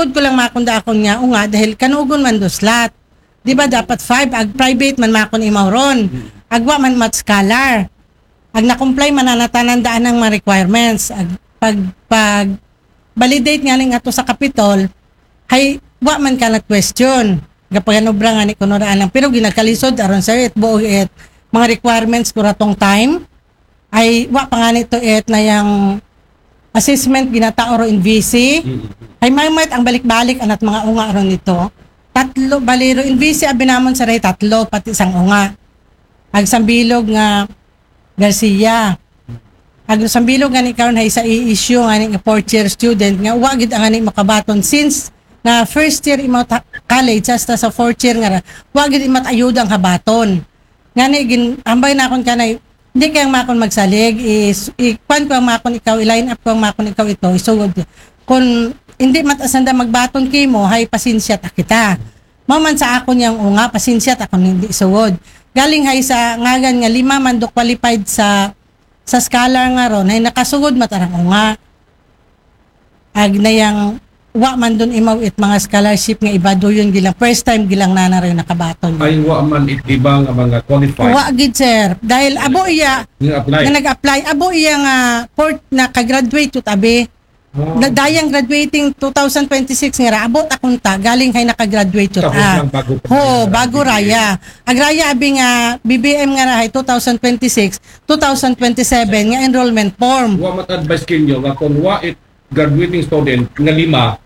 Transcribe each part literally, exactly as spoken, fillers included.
Pud ko lang makon da akon nga unga dahil kanugon man do slot. Di ba dapat five, ag private man makon imaw ron. Ag wa man mat scholar. Ag na-comply man na natanan daan ang mga requirements. Ag pag, pag validate nga ning ato sa Kapitol, hay wa man ka nag-question. Gapaganobra nga ni kuno daan lang. Pero ginakalisod aron sa it buo it mga requirements ko ratong time. Ay wa pa nga nito it na yang assessment ginatao ro in V C. Ay may may ang balik-balik anat mga unga ron nito. Tatlo, bali ro in V C abi namon sa ray tatlo, pati sang unga. Ag sambilog nga Garcia. Ag sambilog nga ni karon hay sa i-issue nga ni fourth year student nga wa gid ang ani makabaton since na first year imo ta- college hasta sa fourth year nga ra, wa gid imat ayuda ang habaton. Ngani gin ambay na akon kanay, hindi kayang makon magsalig, is, i-, kwan ko ang makon ikaw, i-line up ko ang makon ikaw ito, isugod. Kung hindi mat asanda magbaton kimo, hay pasensya ta kita. Mao man sa akon yang unga, pasensya ta kung hindi isugod. Galing hay sa ngagan nga lima man do qualified sa sa scholar nga ron, hay nakasugod mat arang unga. Ag na yang wa man dun imaw it mga scholarship nga iba do yun gilang first time gilang nana rin nakabaton. Ay, wa man it iba nga mga qualified. Wa gid, sir. Dahil abo iya Nga apply. Nga nag-apply, abo iya nga port na ka-graduate yut abi. Oh. Na dayang graduating two thousand twenty-six nga ra, abot akong ta, galing hay naka-graduate yut. Tapos Ah. lang bago pa Ho, yan, bago graduate. Raya. Ag raya abi nga B B M nga ra hay two thousand twenty-six, two thousand twenty-seven nga enrollment form. Wa mat advice kinyo nga kung wa it graduating student nga lima,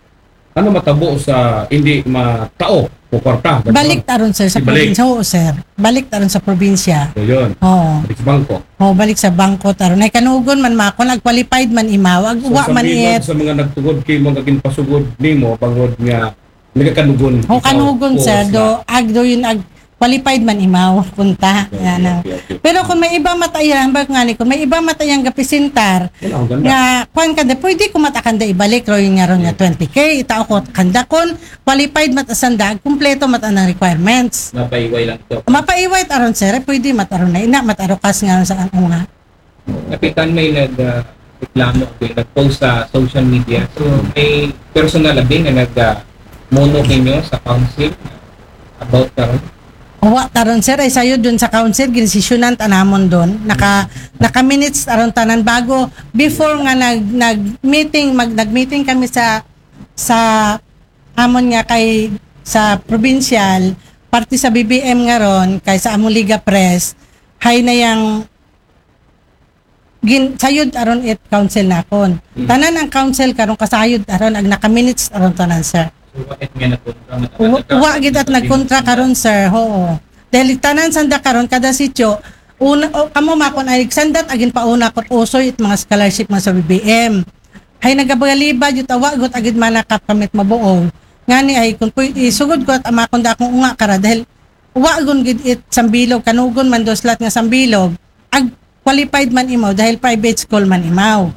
ano matabo sa hindi matao o kwarta? Balik taron, sir, sa Ibalik. Probinsya. Oo, sir. Balik taron sa probinsya. So, yun. Oo. Balik sa bangko. Oh, balik sa bangko taron. Ay kanugon man makon, ag qualified man imaw, ag So, uwa sa man milog it. Sa mga nagtugod kay mga ginpasugod nimo, bangod nga nagakanugon. Oh, ikaw, kanugon, oo, sir. Sila. Do, ag do yun, ag qualified man imaw, punta. Okay, yan ang. Okay, okay. Pero kung may iba matayang, bak nga ni, kung may iba matayang gapisintar, Wala, ang ganda. Nga, kwan kanda, pwede ko matakanda ibalik, ro yun nga ron nga Hmm. twenty K, itao ko kanda kun, qualified mat asanda, kumpleto mat anang requirements. Mapaiway lang to. Mapaiway aron, sir, pwede mat aron na ina, mat arukas nga sa ang unga. Kapitan, may nag, ah, reklamo, may nag-post sa social media. So, may personal abi nga nag, ah, muno kinyo sa council about karon? Wa taron, sir, ay sayo dun sa council, ginsisyonan ta namon dun. Naka, naka-minutes aron tanan bago, before nga nag, nag-meeting, mag, nag-meeting kami sa, sa amon nga kay, sa provincial, parte sa B B M nga ron, kay sa among Liga Press, hay na yang gin-, sayod aron it council nakon. Mm. Tanan ang council karon kasayod aron ag naka-minutes aron tanan, sir. So, wa it nga nagkontra, Wa, wa gid at nagkontra karon, sir. Oo. Dahil tanan sanda karon kada sityo, una, o, kamo makon ay sandat agin pauna ko usoy it mga scholarship nga sa B B M. Hay nagabalibad yut awa gut agid manakap kamit mabuo. Ngani ay kung puy-, isugod ko at amakon da akong unga kara dahil wa gun gid it sambilog, kanugon man do slat nga sambilog. Ag qualified man imaw dahil private school man imaw.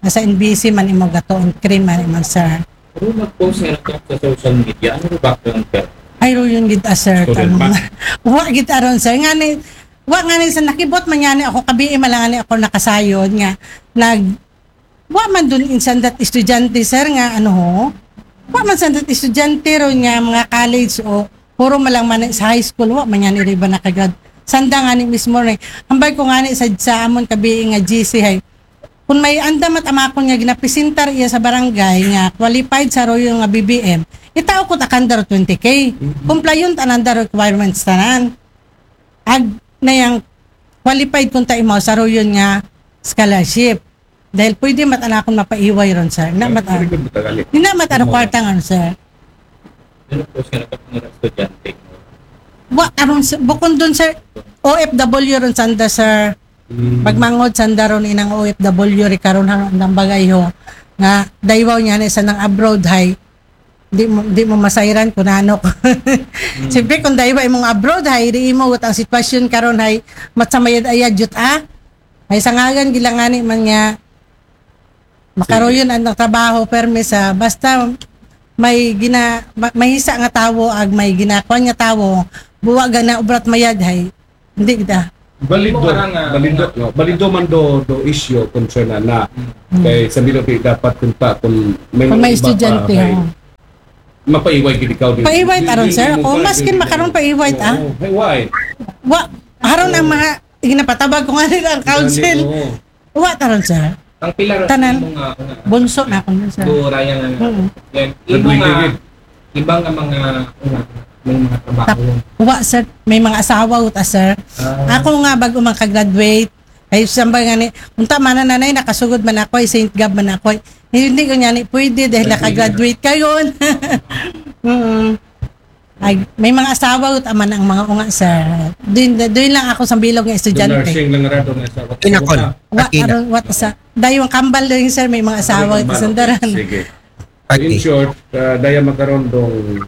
Nasa N B C man imaw gato, ang cream man imaw, sir. Pero nag-post nga nagtapos sa social media, ano ba background ka? Ay, ro yun gid, ah, sir. Student Tanong ba? Na. Wa gid aron, sir. Nga ni, wa nga ni sa nakibot man nga ni ako, kabi, eh, malanga ni ako nakasayod nga nag, wa man dun in sandat estudyante, sir, nga ano ho? Wa man sandat estudyante ron nga mga college o puro malang man sa high school, wa man yan iriba nakagrad. Sanda nga ni mismo ni. Ambay ko nga ni sa, sa amon kabi nga G C hay. Kung may anda mat amakon nga ginapresentar iya sa barangay nga qualified sa royo nga B B M, itao ko takandar twenty K. Mhm. Kumplayon tanan da requirements tanan. Ag na yang qualified kung ta imaw sa royo nga scholarship. Dahil pwede mat anakon mapaiway ron, sir. Na mat Ay, pwede mo tagali. Di na mat ano Oo. Kwarta nga, sir. Pero po siya nakapunod ang estudyante. Wa, aron, sir, bukon dun, sir. O F W ron sanda, sir. Mm. Pagmangod sanda ron inang O F W ri karon hang andang bagay ho. Nga, daywaw niya na isa ng abroad, hay. Di mo, di mo masayran kung ano. Mm. Siyempre, kung daywa imong abroad, hay, di imo, ang sitwasyon karon, hay, matsamayad-ayad, jut, ah. Ay sangagan gilangani man nga makaroyon ang trabaho permi sa basta may gina ma- mahisa nga tawo ag may ginakuan nga tawo buwa gana ubrat mayad hay hindi kita. Balido, Mo karang, ah, balido, mga no? Balido man do, do issue concern na na. Hmm. Kay sa Milo, di dapat kunta kung may Kung may mga iba pa, estudyante, may, oh. Mapaiway gid ikaw din. Paiway taron, sir. Hindi mo Ako, pa maskin pwede. makaron paiway, ah. Oo, paiway. Wa, haron ang mga, ginapatabag ko nga nila ang council. Oo. Wa taron, sir. Ang pila ra Tanan. Imo nga, nga Bunso na ako nun, sir. Duo ra yan nga. Mm. Yan. Sa Imo duwing nga, ligid. Iba nga mga, nga, may mga trabaho. Tap-, wa, sir. May mga asawa, uta, sir. Ah. Ako nga, bago man ka-graduate, ay, samba nga ni, unta man na nanay, nakasugod man ako, ay Saint Gab man ako. Ay, hindi ko niya ni pwede dahil Pwede. Naka-graduate kayo. Mm. Ay, may mga asawa, uta man ang mga unga, sir. Doon, doon lang ako sa bilog ng The estudyante. Nursing lang ra doon sa Kinakol. Wa, Akina. aron, wa, sa, dayong kambal doon, sir, may mga asawa, uta, sandaran. Sige. Okay. In short, uh, daya magkaroon dong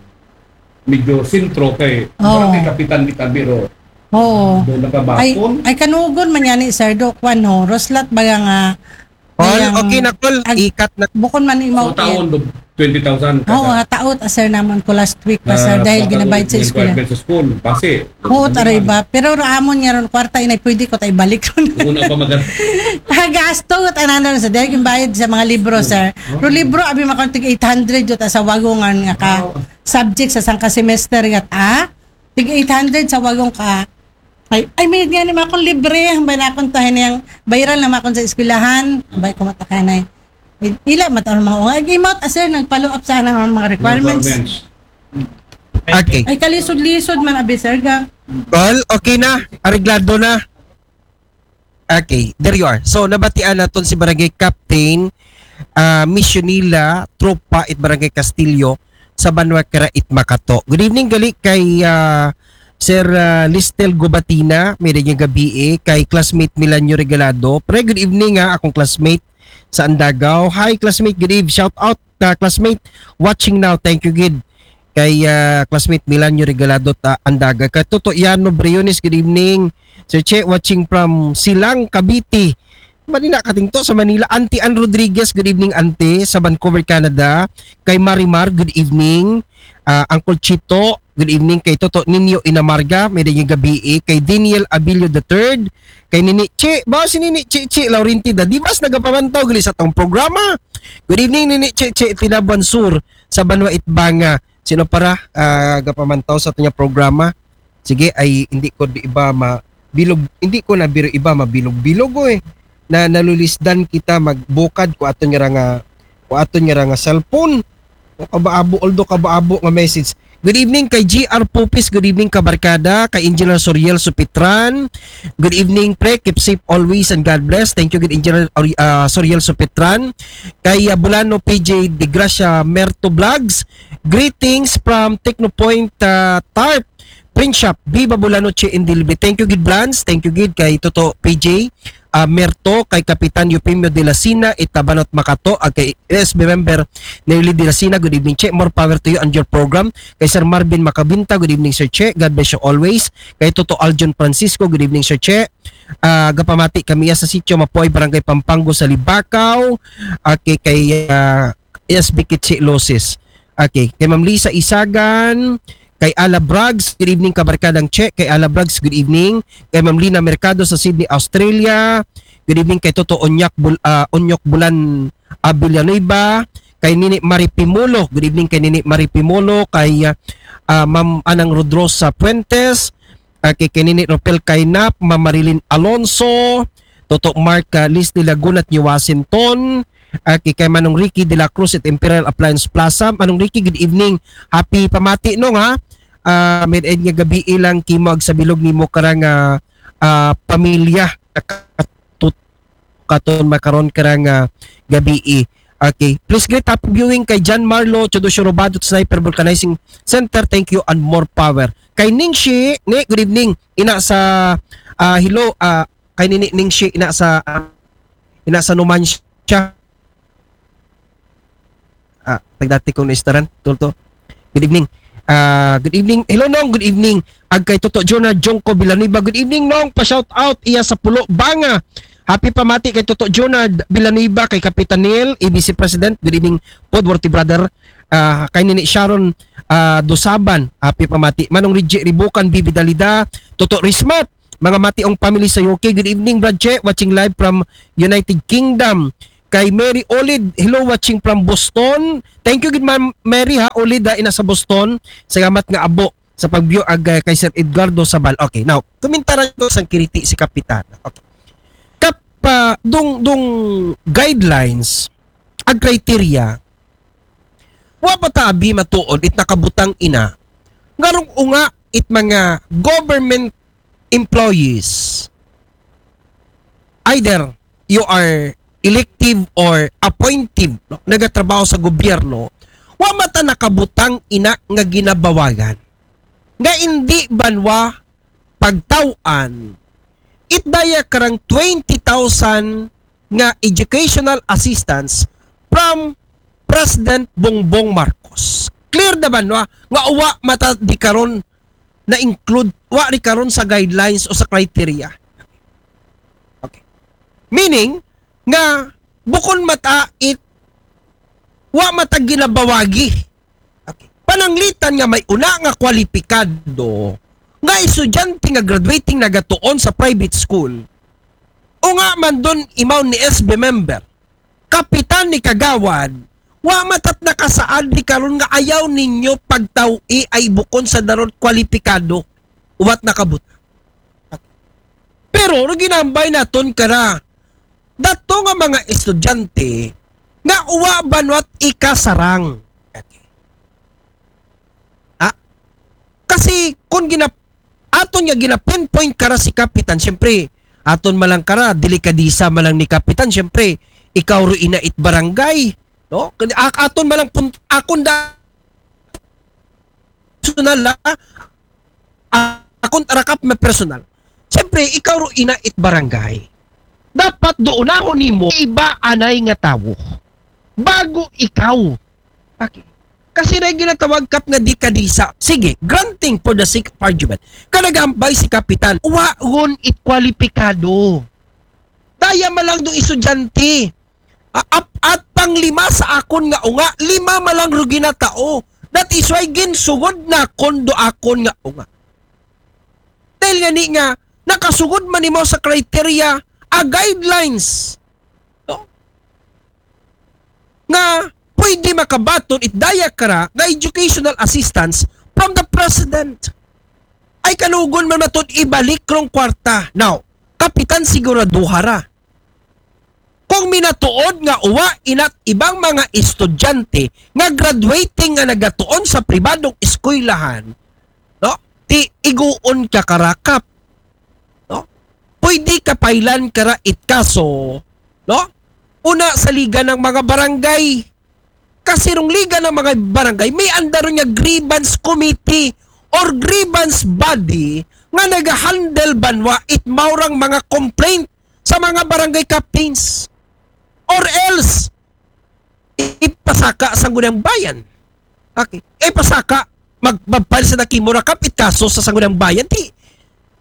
medyo sentro kay Oo. Barangay Kapitan di Kabiro. Oo. Doon Ay, nakabakon. Ay, kanugon man yan ni Sir Doc, ano, Roslat ba nga, Paul, yang okay na, Col. ag- Ikat na. Bukon man So, imaw. taon do twenty thousand. Oo, ha, taot, ah, sir, naman ko last week pa, sir, dahil ginabayad sa eskwela. Sa school, base. Oo, taray ba? Pero raamon niya ron, kwarta, inay, pwede ko tayo balik ron. Una pa magan. Gasto, at ano, sa dahil yung bayad sa mga libro, sir. Pero libro, abi, makon tig eight hundred yun, sa wagongan nga ka subject sa sangka semester, gat, ah? Tig eight hundred sa wagong ka. Ay, ay, may nga ni makon libre, ang ba na akong tahan niyang viral na makon sa eskwelahan, ang ba ko matakanay. Ila mata ang mga unga. Ag-imot, ah, sir, nag-follow up sana ang mga requirements. Okay. Ay, kalisod-lisod man, abi, sir, ga. Col, okay na. Areglado na. Okay, there you are. So, nabatian naton si Barangay Captain, ah, Misionila, Tropa, it Barangay Castillo, sa Banwa Kira, it Makato. Good evening, gali kay, ah, Sir, ah, Listel Gubatina, may rin yung gabi eh, kay classmate Milanyo Regalado. Pre, good evening ha, akong classmate sa Andagaw. Hi, classmate, good eve. Shout out ka, classmate, watching now. Thank you, gid. Kay, ah, classmate Milanyo Regalado ta Andaga. Kay Toto Yano Briones, good evening. Sir Che, watching from Silang, Cavite. Manila katingto sa Manila. Auntie Ann Rodriguez, good evening, Auntie, sa Vancouver, Canada. Kay Marimar, good evening. Ah, Uncle Chito, good evening. Kay Toto Ninyo Inamarga, may rin yung gabi eh. Kay Daniel Abilio the third. Kay Nini Che, ba si Nini Che Che Laurentida. Di ba nagapamantaw gali sa tong programa? Good evening, Nini Che Che, Tinabuan Sur, sa Banwa Itbanga. Sino para, ah, gapamantaw sa itong programa? Sige, ay hindi ko di iba ma bilog, hindi ko na biro iba mabilog-bilog, oy. Na nalulisdan kita magbukad ko aton nga ra nga, ko aton nga ra nga cellphone. O kabaabo, although kabaabo nga message. Good evening kay G R Pupis, good evening kabarkada, kay Engineer Soriel Supitran. Good evening, pre, keep safe always and God bless. Thank you, good Engineer Ori- ah, Soriel Supitran. Kay, ah, Bulano P J De Gracia Merto Vlogs. Greetings from Technopoint, ah, Tarp Print Shop. Viva Bulano Che and Delivery. Thank you, gid Blans. Thank you, gid kay Toto P J, ah, Merto, kay Kapitan Eufemio de la Sina, Itabanot Makato, ag kay S B member Nelly de la Sina. Good evening, Che. More power to you and your program. Kay Sir Marvin Macabinta, good evening, Sir Che. God bless you always. Kay Toto Aljon Francisco, good evening, Sir Che. Ah, gapamati kami sa sitio Mapuay, Barangay Pampanggo sa Libacao. Okay, kay, ah, S B Kichi Losis. Okay, kay Ma'am Lisa Isagan, kay Ala Brags, good evening, kabarkadang Che. Kay Ala Brags, good evening. Kay Ma'am Lina Mercado sa Sydney, Australia. Good evening kay Toto Onyak Bul ah, Onyok Bulan, ah, Villanueva. Kay Nini Marie Pimulo, good evening kay Nini Marie Pimulo. Kay, ah, ah, Ma'am Anang Rodrosa Fuentes. Ah, kay, kay Nini Ropel Kainap, Ma'am Marilyn Alonso, Toto Mark, ah, Leslie Lagunat ni Washington, ah, kay, kay Manong Ricky de la Cruz at Imperial Appliance Plaza. Manong Ricky, good evening. Happy pamati, no, ha? Ah, may nga gabi ilang kimo ag sa bilog nimo karang, ah, ah, pamilya. Nakatut- katon makaron karang, ah, gabi. Okay. Please greet happy viewing kay John Marlo, Chodosyo Robadot Sniper Vulcanizing Center. Thank you and more power. Kay Ningshi, ni, good evening. Ina sa, ah, hello, ah, kay Nini Ningshi, ina sa, ah, ina sa Numancia. Ah, tagdati kong naistaran, tulto. Good evening. Ah, good evening. Hello, Nong. Good evening. Ag kay Toto Jonah Jongko Villanueva. Good evening, Nong. Pa-shout out iya sa Pulo Banga. Happy pamati kay Toto Jonah Villanueva, kay Kapitan Neil, A B C President. Good evening, Podworthy Brother. Ah, kay Nini Sharon, ah, Dusaban. Happy pamati. Manong Reggie Ribukan, Bibi Dalida, Toto Rismat. Mga Mationg family sa U K. Good evening, Brad Che. Watching live from United Kingdom. kay Mary Olid, hello, watching from Boston. Thank you gid, Ma'am Mary, ha, Olid, ha, ina sa Boston. Salamat nga abo sa pag-view ag, uh, kay Sir Edgardo Sabal. Okay, now, kumintaran ko sang kiniti si Kapitan. Okay. Kap, uh, dung, dung guidelines, ag criteria, wa pa ta abi matuod it nakabutang ina. Ngarong unga it mga government employees, either you are elective or appointive, no? Nagatrabaho sa gobyerno, wa man ta nakabutang ina nga ginabawagan. Nga indi banwa pagtaw-an, it daya karang twenty thousand nga educational assistance from President Bongbong Marcos. Clear na banwa nga wa man ta di karon na-include, wa ri karon sa guidelines o sa criteria. Okay. Meaning, nga bukon man ta it, wa man ta ginabawagi. Okay. Pananglitan nga may una nga kwalipikado nga estudyante nga graduating nagatuon sa private school. O nga man dun imaw ni S B member, kapitan ni kagawad, wa man ta nakasaad di karon nga ayaw ninyo pagtaw-i ay bukon sa daron kwalipikado. Uwat nakabut. Pero ginambay naton kara dato nga mga estudyante nga uwa banwat ikasarang. Ha? Kasi kung gina-, aton nga gina-pinpoint kara si Kapitan, siyempre, aton malang kara, delikadisa malang ni Kapitan, siyempre, ikaw ro ina it barangay, no? Kani ak-, aton malang pun-, akon da personal, ha? Akon rakap na personal. Siyempre, ikaw ro ina it barangay. Dapat doon ako nimo iba anay nga tawo. Bago ikaw. Okay. Kasi na ginatawag kap nga delikadisa. Sige, granting for the sake of argument. Kanagambay si Kapitan, wa ron it kwalipikado. Daya malang do estudyante. A-, ap-, at pang lima sa akon nga unga, lima malang rugi na tao. That is why ginsugod na kon do akon nga unga. Dahil nga ni nga, nakasugod man nimo sa criteria, a guidelines. No? Nga pwede makabaton it daya kara nga educational assistance from the president. Ay kanugon man matod ibalik rong kwarta. Now, kapitan siguraduha ra. Kung minatuod nga uwa inat ibang mga estudyante nga graduating nga nagatuon sa pribadong eskwelahan, no? Ti iguon ka karakap, no? Pwede ka pailan kara it kaso, no? Una sa liga ng mga barangay. Kasi rong liga ng mga barangay, may andar nga grievance committee or grievance body nga nagahandle banwa it maurang mga complaint sa mga barangay captains. Or else, ipasaka sa Sangguniang Bayan. Okay. Ipasaka, mag-, magpile sa nakimura kap it kaso sa Sangguniang Bayan. Di,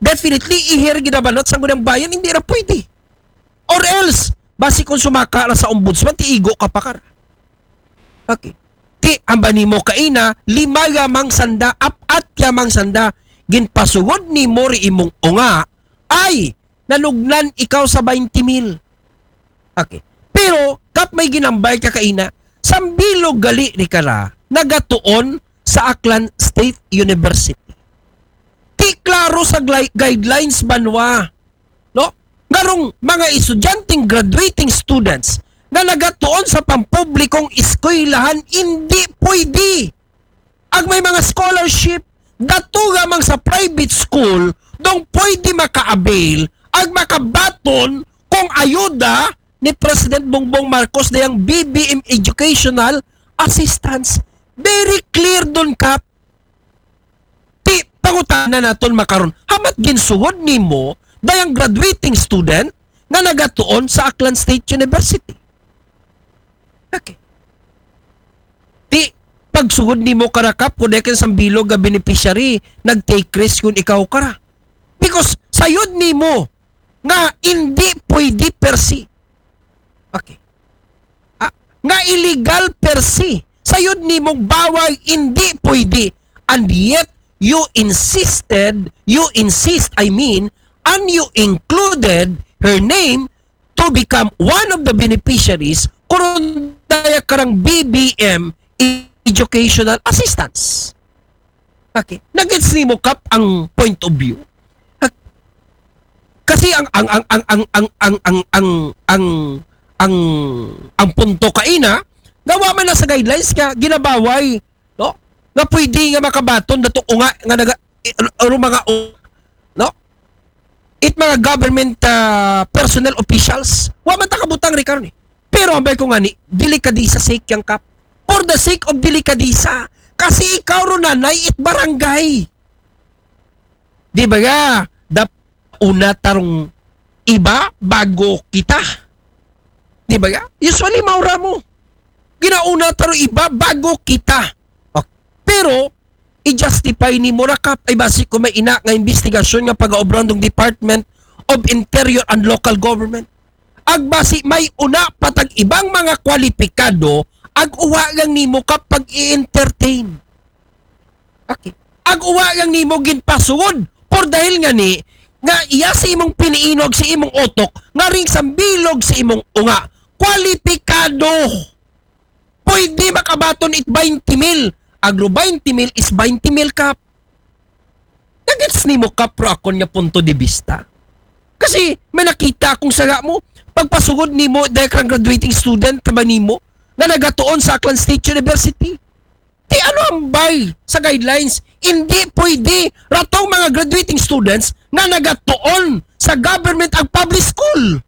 definitely, ihir ginabanat sa Sangguniang Bayan, hindi na pwede. Or else, basi kung sumaka na sa ombudsman, ti igo ka pa kar. Okay. Ti, amba nimo kaina, lima yamang sanda, apat yamang sanda, ginpasugod nimo ri imong unga, ay, nalugnan ikaw sa twenty mil. Okay. Pero, kap may ginambay ka kaina, sambilog gali ni kara, nagatuon sa Aklan State University. Ti klaro sa gli-, guidelines banwa, no? Ngarong mga estudyanteng graduating students nga nagatuon sa pampublikong eskwelahan, hindi pwede. Ag may mga scholarship, dato lamang sa private school, dong pwede maka-avail, ag makabaton kung ayuda ni President Bongbong Marcos dayang B B M Educational Assistance. Very clear dun, Kap. Ti, pangutana naton makaron, hamat ginsuhod nimo dayang graduating student nga nagatuon sa Aklan State University? Okay. Ti, pagsugod nimo kara, Kap, kung dahil ka sambilog nga beneficiary, nag-take risk kung ikaw kara. Because sayod nimo nga hindi pwede per se. Okay. Ah, nga illegal per se. Sayod nimong bawal, hindi pwede. And yet, you insisted, you insist, I mean, and you included her name to become one of the beneficiaries, kung daya karang B B M educational assistance. Okay. Nagets nimo, Kap, ang point of view? Ha? Kasi ang ang ang ang ang ang ang ang ang ang ang punto kaina, gawa man na sa guidelines ka ginabaway, no? Nga pwede nga makabaton dato unga nga naga i- aro mga u- no? It mga government ah, personnel officials, wa man ta kabutang ri karon eh. Pero ambay ko nga ni, delikadisa sake yang, Kap. For the sake of delikadisa. Kasi ikaw ro nanay it barangay. Di ba nga? Dap una tarong iba bago kita. Di ba nga? Usually maura mo. Ginauna tarong iba bago kita. Okay. Pero i-justify nimo ra, Kap, ay basi ko may ina nga investigasyon nga pagaobran dong Department of Interior and Local Government. Ag basi may una patag ibang mga kwalipikado, ag uwa lang nimo, Kap, pag-i-entertain. Okay. Ag uwa lang nimo ginpasugod. Por dahil nga ni, nga iya sa imong piniinog sa imong utok, nga ring sambilog sa imong unga. Kwalipikado. Pwede makabaton it twenty mil. Agro twenty mil is twenty mil, Kap. Nagets nimo, Kap, ro akon nga punto de vista. Kasi may nakita akong saga mo, pagpasugod nimo, dahil kang graduating student ka ba nimo, nga nagatuon sa Aklan State University. Ti ano ang bay sa guidelines? Hindi pwede. Ratong mga graduating students nga nagatuon sa government ang public school.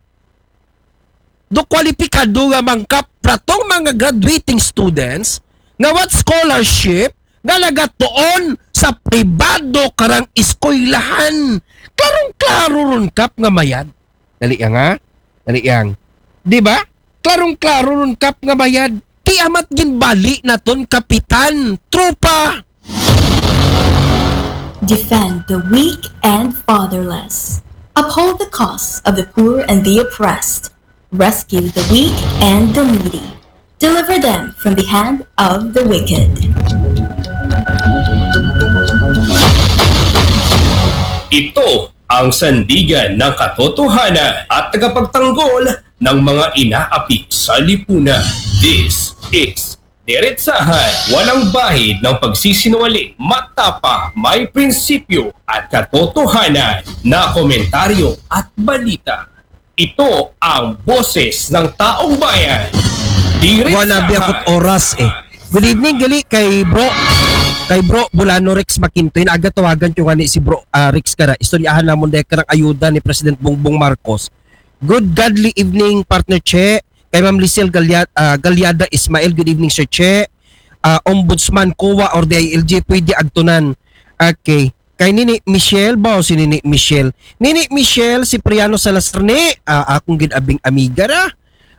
Do kwalipikado nga mangkap ratong mga graduating students nga what scholarship nga nagatuon sa pribado karang eskwelahan. Klarong-klaro ron, Kap, nga mayad. Dali ya nga. Dali yang. Di ba? Klarong-klaro ron, Kap, nga mayad. Ti amat ginbali naton, Kapitan. Tropa! Defend the weak and fatherless. Uphold the cause of the poor and the oppressed. Rescue the weak and the needy. Deliver them from the hand of the wicked. Ito ang sandigan ng katotohanan at tagapagtanggol ng mga inaapi sa lipunan. This is Diretsahan, walang bahid ng pagsisinungaling, matapang, may prinsipyo at katotohanan na komentaryo at balita. Ito ang boses ng taong bayan. Diretsahan. Wala biya ko't oras eh. Good evening, gali kay bro. Kay bro, Bulano Rex Makinto. Inaga tawagan ko nga ni si bro ah, Rex Kara. Istoryahan namon dahil karang ayuda ni President Bongbong Marcos. Good godly evening, partner Che. Kay Ma'am Lisel Galia- ah, Galiada Ismail, good evening, Sir Che. Ah, Ombudsman, COA, or D I L G, pwede agtunan. Okay. Kay Nini Michelle, ba si Nini Michelle? Nini Michelle Cipriano Salazar ni, ah, akong gid abing amiga ra.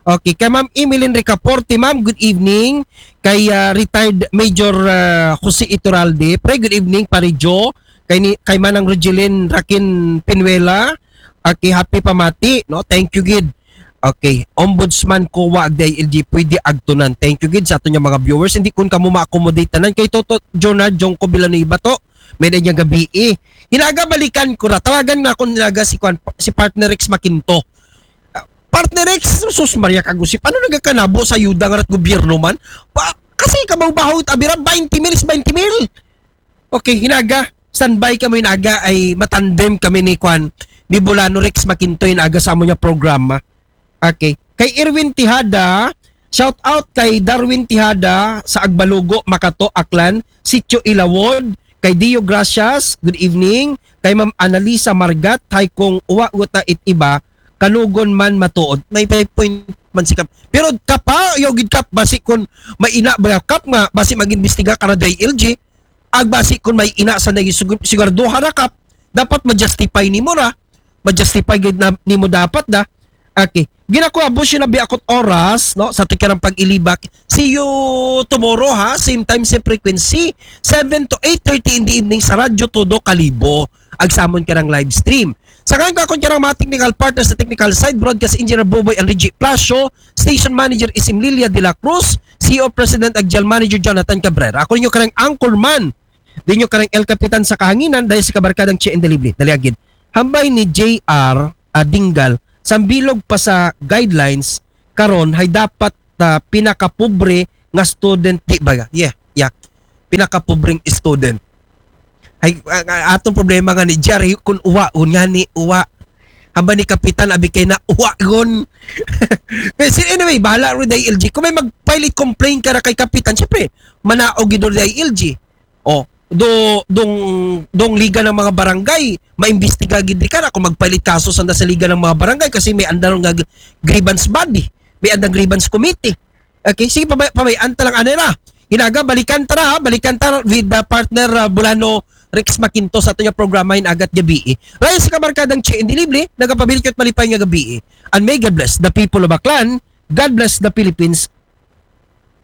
Okay, kay Ma'am Emeline Ricaporte, Ma'am, good evening. Kay ah, retired Major ah, Jose Iturralde, pre, good evening, Pare Joe. Kay, ni, kay Manang Rogelin Rakin Pinuela, okay, happy pamati, no? Thank you gid. Okay, Ombudsman, COA, ag D I L G, pwede agtunan. Thank you gid sa aton nga mga viewers. Hindi kun kamo ma-accommodate tanan kay Toto Jonard Jongko Villanueva to. May na niya gabi eh. Hinaga balikan ko ra. Tawagan na akong hinaga si, Kwan, si partner Rex Makinto. Ah, partner Rex, sus Maria Kagusip, ano nagkakanabo sa yuda nga rat gobyerno man? Pa, kasi kabaw-bahaw it abira, twenty mil is twenty mil. Okay, hinaga, standby kamo hinaga ay matandem kami ni Kwan, ni Bulano Rex Makinto hinaga sa amo niya programa. Okay. Kay Erwin Tijada, shout out kay Darwin Tijada sa Agbalugo, Makato, Aklan, Sitio Ilawod, kay Dio Gracias, good evening, kay Ma'am Annalisa Margat, hay kung uwa guta it iba, kanugon man matuod. May five point man si Kap. Pero Kap ha, yaw gid Kap, basi kun may ina ba Kap nga, basi mag-imbestiga ka na D I L G, ag basi kun may ina sa naging sigur- sigurado ha na Kap, dapat ma-justify nimo ra, ma-justify gid na nimo dapat da. Okay. Ginakuha mo siya na biya ako't oras, no? Sa tikirang pag-ilibak. See you tomorrow, ha? Same time, same frequency. seven to eight thirty in the evening sa Radyo Todo Kalibo. Agsamon ka ng live stream. Sa ngayon, kakon ka ng mga technical partners sa technical side, broadcast engineer Boboy and Reggie Plasio, station manager Isim Lilia de la Cruz, C E O President ag General Manager Jonathan Cabrera. Ako ninyo karang anchorman. Di nyo karang El Capitan sa kahanginan dahil sa kabarkadang Che and Delivery. Dali agad. Hambay ni J R Adingal Sambilog pa sa guidelines karon, hay dapat, ah, pinakapobre nga student, di ba? Yeah, yeah. Pinakapobreng student. Hay, ah, ah, atong problema nga ni Jerry, kung uwa, kung nga ni uwa. Haba ni Kapitan, abi kay na uwa, gon. Pero anyway, bahala rin dahil L G. Kung may mag-file complaint ka na kay Kapitan, syempre, manaog gid dahil L G. Oh, do, dong, dong Liga ng mga Barangay, maimbestiga gid di ka na kung magpalit kaso sa, sa Liga ng mga Barangay kasi may andang nga grievance body, may andang grievance committee. Okay, sige, pabay, pabay, anta lang, ano na. Hinaga, balikan ta na, ha? Balikan ta with the partner, uh, Bulano Rex Makinto sa ato niya programa in agat gabi. Ryan sa kabarkadang Che Indilible, nagapabilit malipay nga gabi. And may God bless the people of Aklan, God bless the Philippines,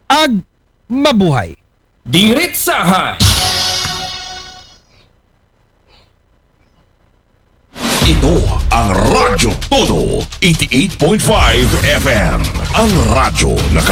ag mabuhay. Diritsahan. Ito ang Radyo Todo, eighty-eight point five F M. Ang radyo na